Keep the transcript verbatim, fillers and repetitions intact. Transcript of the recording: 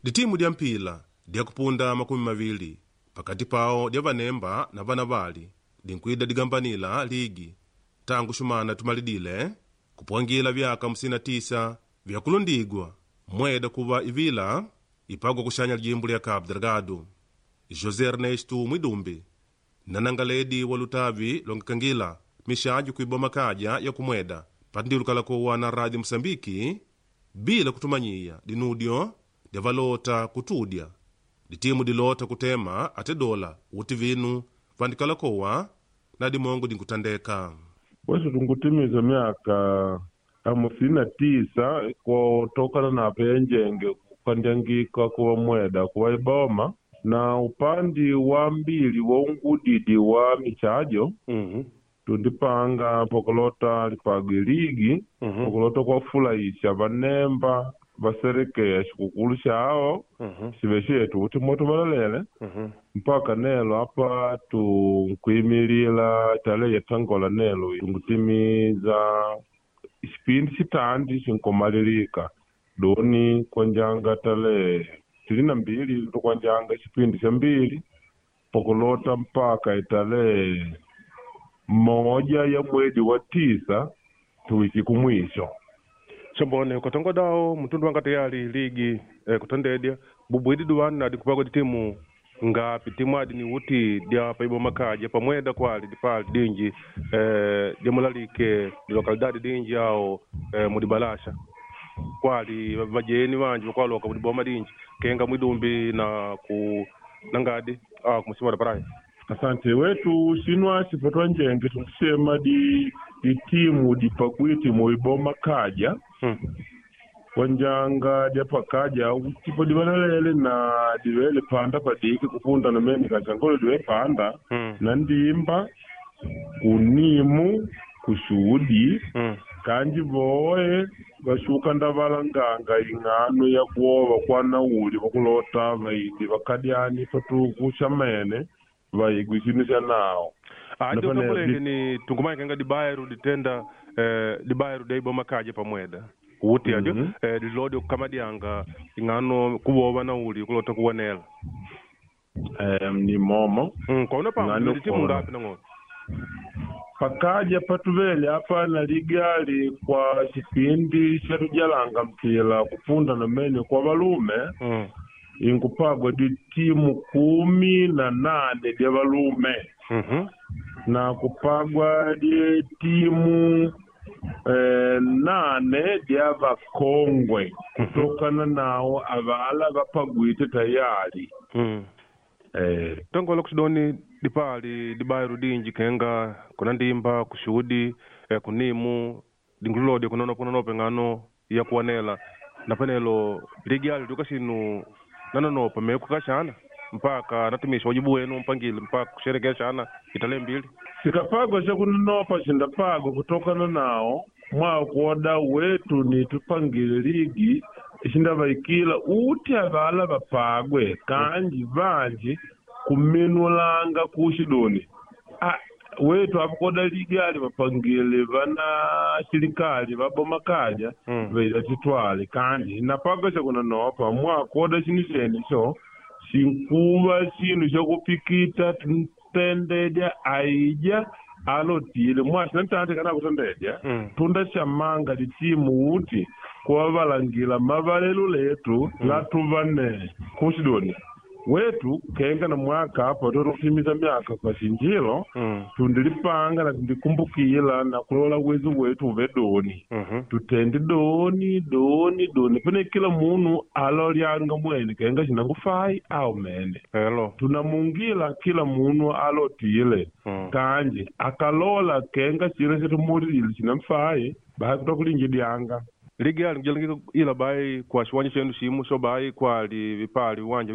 Ditimu dya mpila dyakupunda makumi mavili pakati pao dya vanemba na vanavali dinkwida digambanila ligi tangu shumana tumalidile kupwangila vyaka hamsini na tisa vyakulundigwa mweda kuva ivila ipagwa kuxanya lijimbu lya Cabo Delgado. José Ernesto Mwidumbi nanangaledi wa lutavi longekangila mixajo kuiboma kaja ya kumweda patindilukalakowa na Rádio Moçambique bila kutumanyiya dinudyo dyavalota kutudya ditimu dilota kutema ate dola uti vinu vandikalakowa na dimongo dinkutandeka. Wesu tungutimiza miaka hamsini na tisa kutokana na penjenge kukandyangika kuwa mweda kuwa iboma na upandi wa mbili wa ungudidi wa michajo mm tundipanga pokulota lipagwe ligi -hmm. pokulota kwafulahisha vanemba vaserekea xikukulu xawo mm xive xetu kuti moto valalele -hmm. mpaka nelo apa tunkuimilila tale yetangola nelo tungutimiza xipindi xitandi xinkomalilika doni kwanjanga tale tili na mbili tukwanjanga xipindi xa mbili pokulota mpaka itale moja ya mwedi wa tisa tuwiki kumwisho. Sombone ukatongo dawo mtundu wanga tayari ligi eh, kutondedya bubwidi duwanu nadi kupagwa ditimu ngapi timu adi ni uti dya paiboma kaja pamweda kwali dipali dinji eh, dyamulalike dilokalidadi dinji awo eh, mudibalasha kwali vajeni vanji vakwaloka mudiboma dinji kenga mwidumbi na ku nangadi awo kumusima da praia. Asante wetu xinwa xipatwa njenge tunkusema di ditimu dipagwiti muiboma kaja hmm. kwanjanga dyapakaja tipo divalalele na divele panda padiki kupunda namene kachangolo diwe panda Hmm. na ndimba kunimu kuxudi Hmm. kanji voe vaxuka ndavalanganga ing'ano ya kuova kwa nauli vakulota vaidi vakadyani patuku xamene vaigwi xinu xa nawo adi Napane utambulenge di- ni tungumanya kenga dibairu ditenda eh, dibairu daiboma kaja pamweda uti adyo Mhm. eh, dilodi okukamadianga ing'ano kuwova nauli kulota kuwanela eh, ni momo mm, kwauna Ng'ano pamwe ditimu kuona. ngapi nang'ono pakaja patuvele apa na ligali kwa xipindi xatujalanga mpila kupunda namene kwa valume mm. inkupagwa ditimu kumi na nane dya valume mm -hmm. na kupagwa ditimu eh, nane dya vakongwe kutokana nawo avala vapagwite tayari mm. eh, tongola kuxidoni dipali dibairu dinji kenga kuna ndimba kuxudi eh, kunimu dingululodi kunonopa kunonopa ing'ano ya kuwanela na panelo ligi ali tuka xinu nanonopa mekukaxana mpaka natumisha wajibu wenu mpangile mpaka kusherekea xana itale mbili sikapagwa xakunonopa xindapagwa kutokana nawo mwakuoda wetu nitupangile ligi xindavaikila uti avala vapagwe kanji vanji kuminulanga kuxidoni ah, wetu apakoda ligi ali vapangile vana xilikali vaboma kaja Mm. vaida titwale kanji napagwa xakunonopa mwakuoda xinu xenixo xinkuva xinu xakupikita tendedya aija alotile mwaxina ntante kana kutendedya Mm. tunda xamanga litimu uti kuvavalangila mavalelo letu mm. latuvane kuxidoni wetu kenga na mwaka apa totokutimiza myaka kwa xinjilo mm. tundilipanga na tundikumbukila na kulola uwezo wetu uve doni mm -hmm. tutende doni doni doni pene kila munu alolyanga mwene kenga xinangufai au mene elo tunamungila kila munu alotile mm. kanji akalola kenga cina xatumulilile xinamfai bahi kutokulinjidyanga ligi ali nkujalangika ila bai kwa xiwanja xenu ximu xo bai kwali vipali viwanja